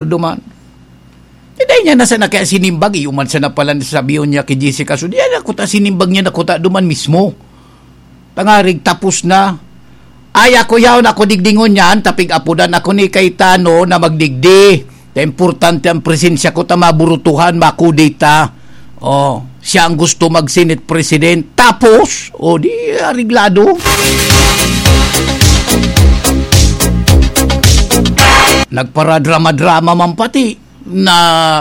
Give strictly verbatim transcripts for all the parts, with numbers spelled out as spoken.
duman. Di dai niya na sana kaya sinimbag, iyo man sana pala sabihon niya ki Jessica. So, di na kuta sinimbag niya na kuta duman mismo. Tangarig tapos na. Ay, ako yaon, ako digdingon niyan, tapig apodan ako ni Cayetano na magdigdi. Ta importante ang presensya ko, ta maburutuhan, makudeta. Oh, siya ang gusto mag-Senate President. Tapos, o di, areglado. Nagparadrama-drama man pati na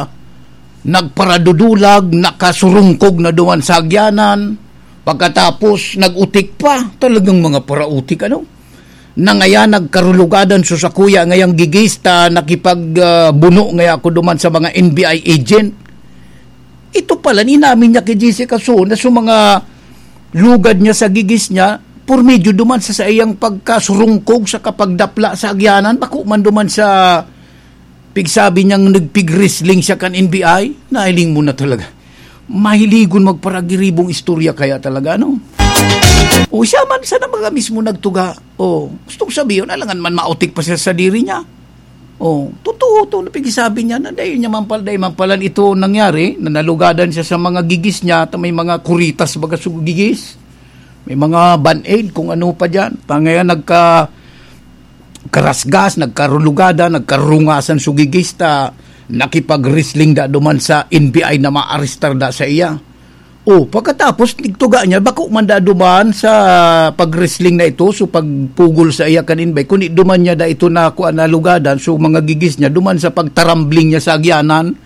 nagparadudulag, nakasurungkog na duman sa agyanan. Pagkatapos, nag-utik pa. Talagang mga parautik, ano? Na ngaya nagkarulugadan so sakuya ngayang gigis ta nakipag, ah, buno ngaya ako duman sa mga N B I agent. Ito pala, inamin niya ki Jessica So na so mga lugad niya sa gigis niya, por medyo duman sa saiyang pagkasurungkog sa kapagdapla sa agyanan, bako man duman sa pigsabi niyang nagpig-wrestling siya kan N B I, nahiling mo na talaga. Mahiligon magparagiribong istorya kaya talaga, no? O siya man sana mga mismo nagtuga. O, gustong sabihin, alangan man mautik pa siya sa diri niya. O, totoo to, na pigsabi niya na dahil niya man pala, dahil man pala ito nangyari, na nalugadan siya sa mga gigis niya, ta may mga kuritas baga sa gigis. May mga band-aid, kung ano pa dyan. Tangaya nagka, karasgas, nagkarulugada, nagkarungasan so gigis ta nakipag-wrestling da duman sa N B I na maarestar da sa iya. O, pagkatapos, nigtuga niya, bako man da duman sa pag-wrestling na ito, so pagpugol sa iya kan N B I, kundi duman niya da ito na kuan na lugadan, so mga gigis niya, duman sa pagtarambling niya sa agyanan,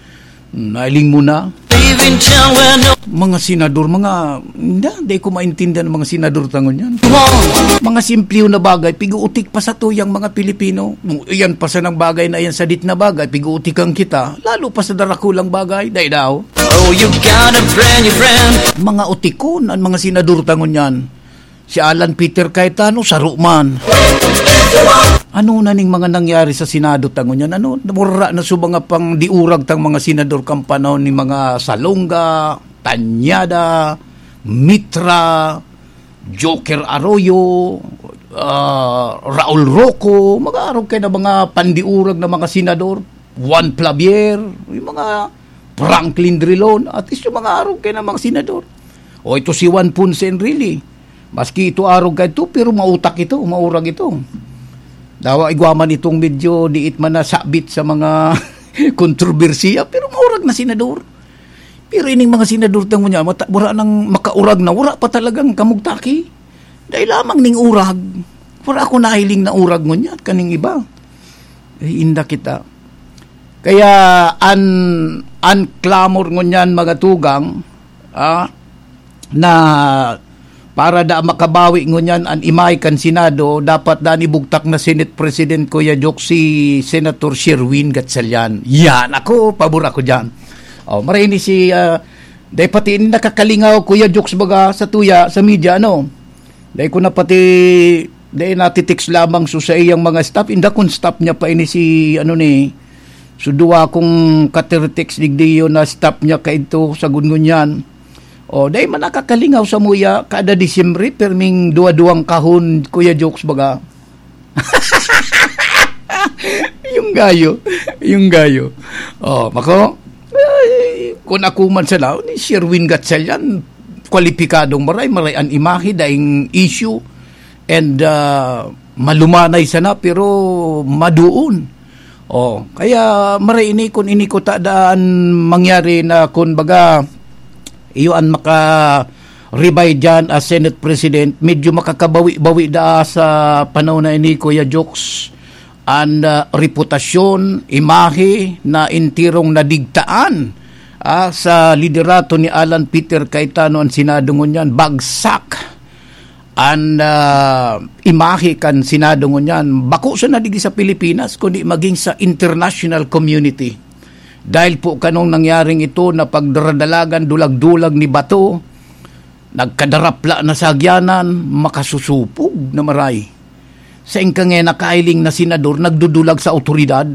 nailing mo na. Mga senador, mga, hindi, hindi ko maintindihan ang mga senador tangon yan. Mga simple na bagay, piguutik pa sa tuyang mga Pilipino. Yan pa sa nang bagay na yan, sa dit na bagay, piguutikan kita. Lalo pa sa darakulang bagay, dai daw. Oh, you got a brand new friend. Mga utikon ang mga senador tangon yan. Si Alan Peter Cayetano, saro man. Ano na ning mga nangyari sa Senado tangon yan? Ano, wara na so mga pangdiurag tang mga senador kan panahon ni mga Salonga, Tañada, Mitra, Joker Arroyo, ah, Raul Roco, mga arog kay na mga pandiurag na mga senador, Juan Clavier, yung mga Franklin Drilon, at least yung mga arog kay na mga senador. O ito si Juan Ponce Enrile. Maski ito arog ka ito, pero mautak ito, maurag ito. Dawa igwa man itong medyo diit man nasabit sa mga kontrobersiya, pero maurag na senador. Pero ining mga senador tang niya, mata-, wala nang makaurag na, wala pa talagang kamugtaki. Dahil lamang ning urag, wala ako nahiling na urag ngunyan, kaning iba. Ay, inda kita. Kaya an, an clamor ngunyan, mga tugang, ah, na para da makabawi ngunyan an imahe kan Senado, dapat da an ibugtak na Senate President, Kuya Jok, si Senator Sherwin Gatchalian. Yan, ako, pabor ako dyan. Oh, maray ni si, ah, dahil pati ini nakakalingaw, Kuya Jok, baga sa tuya, sa media, ano? Dahil ko na pati, dahil natitext lamang so sa iyang mga staff, inda kun staff niya pa ini si, ano ni, so duwa kong katiritext digdi yun na staff niya kaidto sa gungunyan. O, dahil man nakakalingaw sa muya, kada Disyembre, perming duwa-duwang kahon, Kuya Jokes, baga. Yung gayo, yung gayo. O, mako, ay, kung ako man sana, ni Sherwin Gatchalian, kwalipikadong maray, maray an imahe, daing issue, and, ah, malumanay sana, pero maduon. Oh, kaya maray ini kun ini ko ta daan mangyari na kun baga iyo an maka-rebay diyan as Senate President, medyo makakabawi-bawi daa sa panahon na ini, Kuya Jokes, an, ah, reputasyon, imahe na entirong nadigtaan, ah, sa liderato ni Alan Peter Cayetano an Senado ngunyan. Bagsak an, ah, imahe kan Senado ngunyan, bako sana digdi sa Pilipinas, kundi maging sa international community. Dahil po kanong nangyaring ito na pagdaradalagan, dulag-dulag ni bato, nagkadarapla na sa agyanan, makasusupog na maray. Sa ingkangay nakailing na senador, nagdudulag sa awtoridad.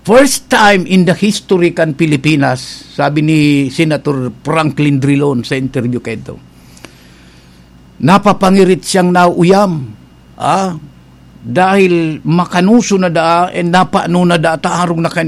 First time in the history kan Pilipinas, sabi ni Senator Franklin Drilon sa interview kaito. Napapangirit siyang nauuyam. Ah, dahil makanoso na daa, and napano na daa ta arog na kan